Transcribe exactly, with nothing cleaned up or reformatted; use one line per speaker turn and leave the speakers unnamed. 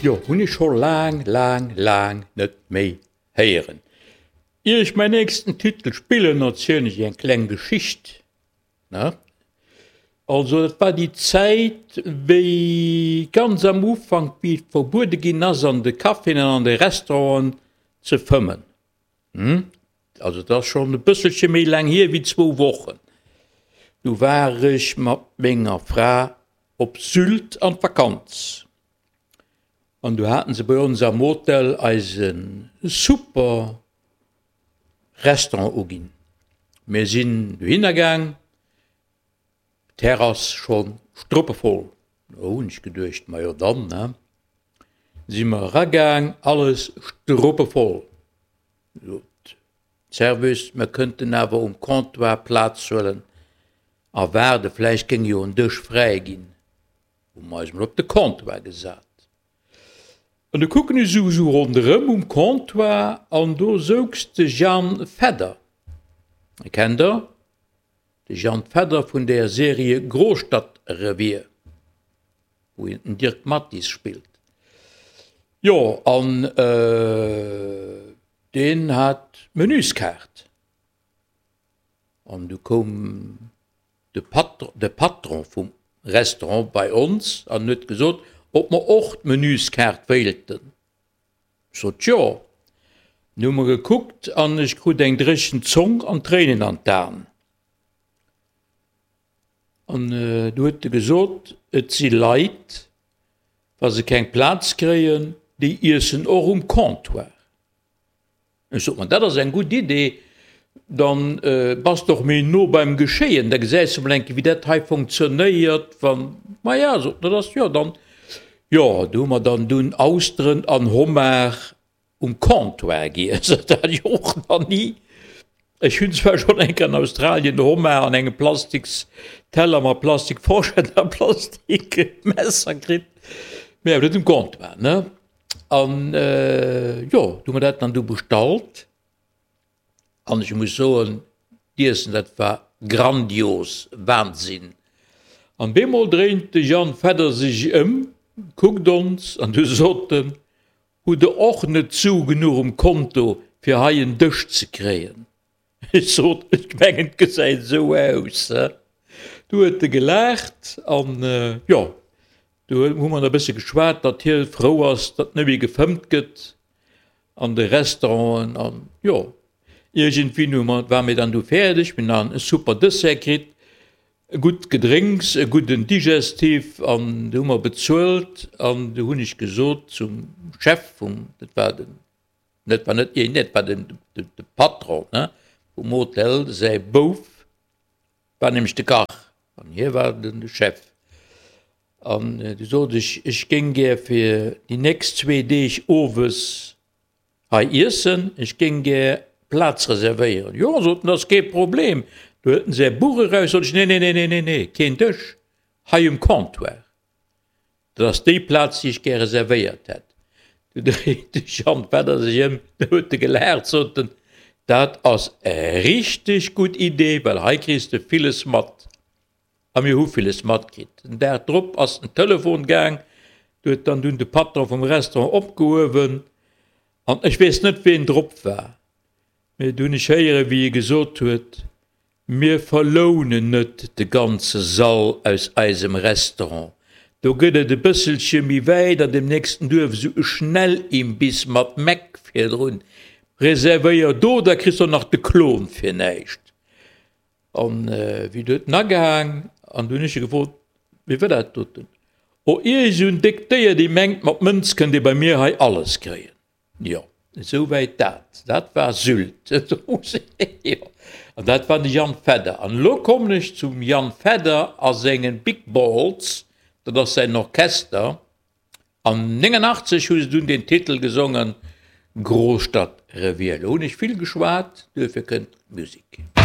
Jo, hunn ech scho laang, laang, laang net méi héieren. Ier ech mäin nächsten Titel spillen, erzielen ech iech eng kleng Geschicht, ne? Also, dat war déi Zäit, wéi ganz am Ufank, wéi et verbuede ginn ass, an de Caféen an an de Restauranten ze fëmmen. Hm? Also, dat ass schonn e bësselche méi laang hier wéi zwou Wochen. Du war ech mat menger Fra op Sylt an d'Vakanz. An du haten se bei ons am Hotel eis e super Restaurant uginn. Mir sinn dohinner gaang. D'Terrass schonn struppevoll. Do hunn ech geduecht, majo dann, ne? Si mer eragaang, alles struppevoll. Sot d'Serveuse, mer kënnten awer um Comptoir Plaz huelen a waarden, vläicht géing jo en Dësch fräi ginn. Hu mer eis mol op de Comptoir gesat. An du kucken ech esou esou ronderëm um Comptoir an do souz de Jan Fedder. E kennt der? De Jan Fedder vun der Serie Großstadtrevier, wou hien den Dirk Mattis spillt. Jo, an deen hat d'Menüskaart. An du koum de Patr de Patron vum Restaurant bei ons an huet gesot, ob mer och d'Menüskaart wéilten. Ech sot jo. Du hu mer gekuckt an ech krut eng dréchen Zong an Tréinen an d'Aen. An du huet e gesot, et si Leit, wa se keng Plaz kréien, déi iessen och um Comptoir. Ech sot, ma dat ass eng gutt Idee, dann bass de och méi no beim Geschéien, da gesäis de mol eng Kéier, wéi dat hei funktionéiert, wann. Maja, sot en, dat ass jo dann. Jo, do hu mer dann dunn Austeren an Homard um Comptoir giess. Dat hat ech och nach ni. Ech hunn zwar schonn eng Kéier an Australien Homard an engem plastiks Teller mat plastik Forschett a plastik Messer kritt, mee awer net um Comptoir, ne? An jo, du hu mer dat dann du bestallt an ech muss soen, d'Iessen, dat war grandios, Wahnsinn! An bemol dréint de Jan Fedder sech ëm, kuckt ons an du sot en, Hutt der och net Su genuch um Konto fir hei en Dësch ze kréien? Ech sot, Ech mengen et gesäit esou aus. Du huet e gelaacht an jo, du hu mer nach e bësse geschwat, datt hie frou ass, datt net méi gefëmmt gëtt an de Restauranten an jo, iergendwéi hu mer, ware mir dann du fäerdeg, mir hunn nach e super Dessert kritt. E gutt Gedrénks, e gudden Digestif an du hu mer bezuelt an du hunn ech gesot zum Chef vum, dat war den, dat war net, nee, dat war den, de Patron, ne, vum Hotel, säi Bouf war nämlech de Kach an hie war den de Chef. An du sot ech, ech géing gär fir déi nächst zwee Deeg owes Hei iessen, ech géing gär Plaz reservéieren. Jo, sot en, dat ass kee Problem. Du huet en säi Buch eraus, sot ech, nee, nee, nee, nee, nee, nee, keen Dësch, hei um Comptoir, dat ass déi Plaz, déi ech gär reservéiert hätt. Du dréit de Jan Fedder sech ëm, du huet e gelaacht, sot en, dat ass e richteg gutt Idee, well hei kriss de villes mat. A mir hu villes matkritt. Den Dag drop ass den Telefon gaang, do huet dann dunn de Patron vum Restaurant opgehuewen an ech weess net ween drop war, mee du hunn ech héieren, wéi e gesot huet, Mir verlounen net de ganze Sall aus eisem Restaurant, do gëtt et e bësselche méi wäit an dem nächsten Duerf esou e Schnellimbiss mat Mac virdrun, reservéier do, da kriss de och nach de Klon fir näischt. An wéi du huet en agehaang an du hunn ech e gefrot, Wéi war dat doten? O ierg esou en déckt Déier, déi mengt, mat Mënz kënnt ee bei mir hei alles kréien. Jo, esou wäit dat. Dat war Sylt. Jo, an dat war de Jan Fedder. An elo kommen ech zum Jan Fedder a sengen Big Balls, dat ass säin Orchester. An néngundachtzeg hu se dunn den Titel gesongen, Großstadtrevier. Elo hunn ech vill geschwat, duerfir kënnt d'Musek.